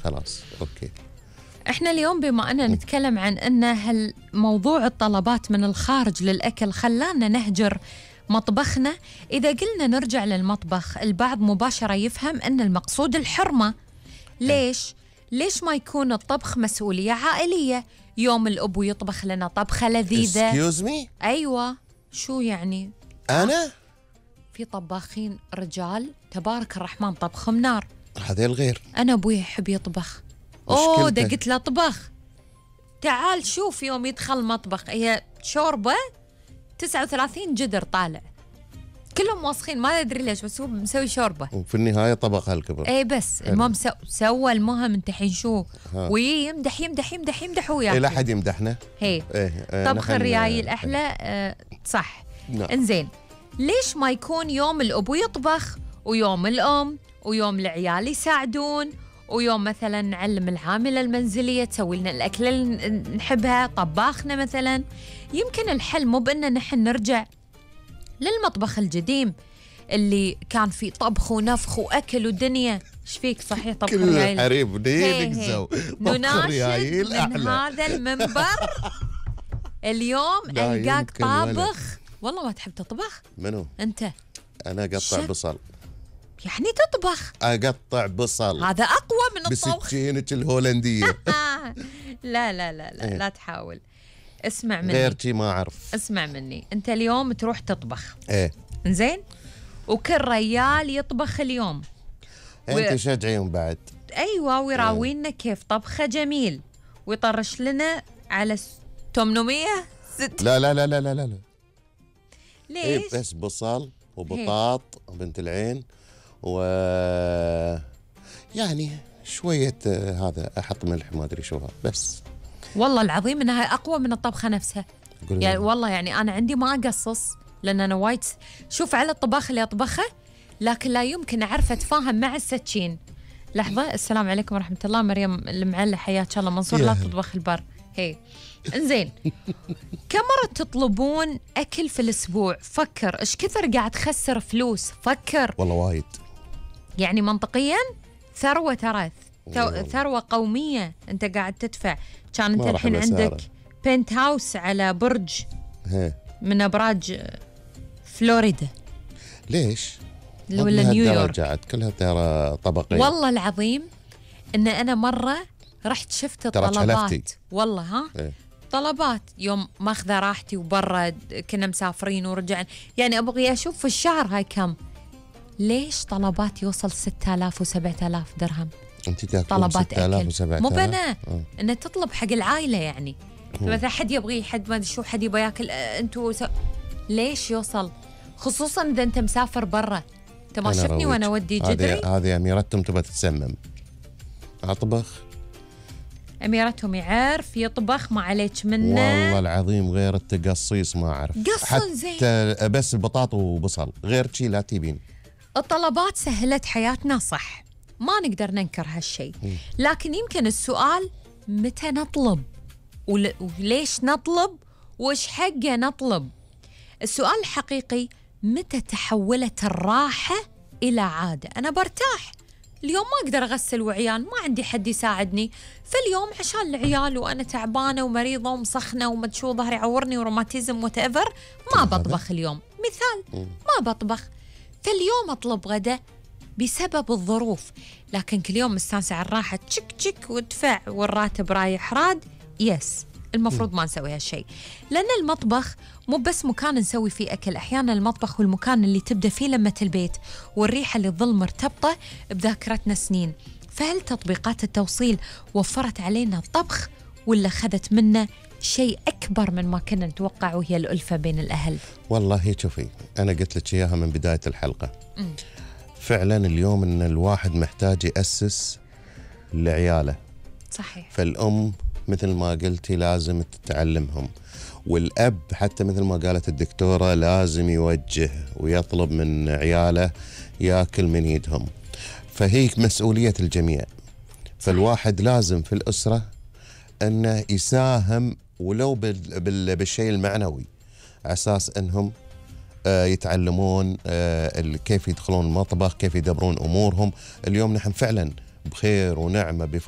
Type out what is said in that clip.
خلاص أوكي. احنا اليوم بما أننا نتكلم عن أن موضوع الطلبات من الخارج للأكل خلانا نهجر مطبخنا. إذا قلنا نرجع للمطبخ البعض مباشرة يفهم أن المقصود الحرمة. ليش ما يكون الطبخ مسؤولية عائلية؟ يوم الأب يطبخ لنا طبخة لذيذة. Excuse me؟ أيوة، شو يعني؟ أنا؟ في طباخين رجال تبارك الرحمن طبخهم نار. هذا الغير. أنا أبوي يحب يطبخ. أوه ده قلت له طبخ. تعال شوف يوم يدخل مطبخ هي شوربة 39 جدر طالع كلهم واسخين ما أدري ليش بس هو مسوي شوربة وفي النهاية طبخ هالكبر. ايه بس المهم سوى المهم انت حين شو ويمدح يمدح يمدح يمدح وياك. لا حد يمدحنا. هي طبخ الريايل أحلى. صح. انزين ليش ما يكون يوم الأبو يطبخ ويوم الأم ويوم العيال يساعدون ويوم مثلا نعلم العاملة المنزلية تسوي لنا الأكل اللي نحبها طباخنا مثلا. يمكن الحل مو بأن نحن نرجع للمطبخ القديم اللي كان فيه طبخ ونفخ وأكل ودنيا. ايش فيك صحيح طبخ الريايل حريب نينك نناشد من هذا المنبر اليوم ألقاك طابخ. والله ما تحب تطبخ؟ منو؟ أنت. أنا أقطع بصل. يعني تطبخ؟ أقطع بصل هذا أقوى من الطبخ بسكينة الهولندية. لا لا لا لا لا تحاول. اسمع مني غير شي ما أعرف. اسمع مني أنت اليوم تروح تطبخ إنزين وكل ريال يطبخ اليوم أنت شجعيهم بعد. أيوة ويراوينا كيف طبخه جميل ويطرش لنا على 800 لا لا لا لا لا لا ليش؟ بس بصل وبطاط بنت العين يعني شوية هذا أحط ملح ما أدري شو بس. والله العظيم إنها أقوى من الطبخة نفسها يعني والله يعني أنا عندي ما أقصص لأن أنا وايد شوف على الطباخ اللي أطبخه لكن لا يمكن أعرف أتفاهم مع السكين. لحظة. السلام عليكم ورحمة الله. مريم المعلة حياك الله. منصور لا تطبخ البر. انزين كم مرة تطلبون أكل في الأسبوع؟ فكر إيش كثر قاعد تخسر فلوس. فكر والله وايد يعني منطقيا ثروة ترى ثروة قومية أنت قاعد تدفع. كان أنت الحين عندك بنت هاوس على برج من أبراج فلوريدا. ليش؟ ولا نيويورك كلها ترى طبقية. والله العظيم إن أنا مرة رحت شفت طلبات والله طلبات يوم ماخذة راحتي وبرا كنا مسافرين ورجعنا يعني أبغي أشوف في الشهر هاي كم. ليش طلبات يوصل 6000 و7000 درهم؟ أنت تاكلين طلبات 6000 و7000 مو بنا إنه تطلب حق العائلة يعني مثلا حد يبغي حد ما أدري شو حد يبغى ياكل أنتوا ليش يوصل خصوصا إذا أنت مسافر برا. أنت ما شفتني وأنا أودي جدري. هذه أميرتهم تبغى تتسمم أطبخ. أميرتهم يعرف يطبخ ما عليك منه والله العظيم غير التقصيص ما أعرف حتى زين بس البطاطا وبصل غير شي لا تبين. الطلبات سهلت حياتنا صح ما نقدر ننكر هالشيء لكن يمكن السؤال متى نطلب وليش نطلب وإيش حقه نطلب. السؤال الحقيقي متى تحولت الراحة إلى عادة. أنا برتاح اليوم ما أقدر أغسل وعيال ما عندي حد يساعدني فاليوم عشان العيال وأنا تعبانة ومريضة ومسخنة ومدشو ظهري عورني وروماتيزم وتأفر ما بطبخ اليوم مثال ما بطبخ فاليوم أطلب غدا بسبب الظروف. لكن كل يوم مستانسة على الراحة تشك تشك وادفع والراتب رايح راد المفروض ما نسوي هالشيء لأن المطبخ مو بس مكان نسوي فيه أكل. أحيانا المطبخ هو المكان اللي تبدأ فيه لمة البيت والريحة اللي تظل مرتبطة بذاكرتنا سنين. فهل تطبيقات التوصيل وفرت علينا الطبخ ولا خذت منا شيء أكبر من ما كنا نتوقع وهي الألفة بين الأهل؟ والله شوفي أنا قلت لك إياها من بداية الحلقة فعلا اليوم إن الواحد محتاج يأسس لعياله. صحيح. فالأم مثل ما قلتي لازم تعلمهم والأب حتى مثل ما قالت الدكتورة لازم يوجه ويطلب من عياله ياكل من يدهم. فهي مسؤولية الجميع. فالواحد لازم في الأسرة أنه يساهم ولو بالشيء المعنوي على أساس أنهم يتعلمون كيف يدخلون المطبخ كيف يدبرون أمورهم. اليوم نحن فعلا بخير ونعمة بفضل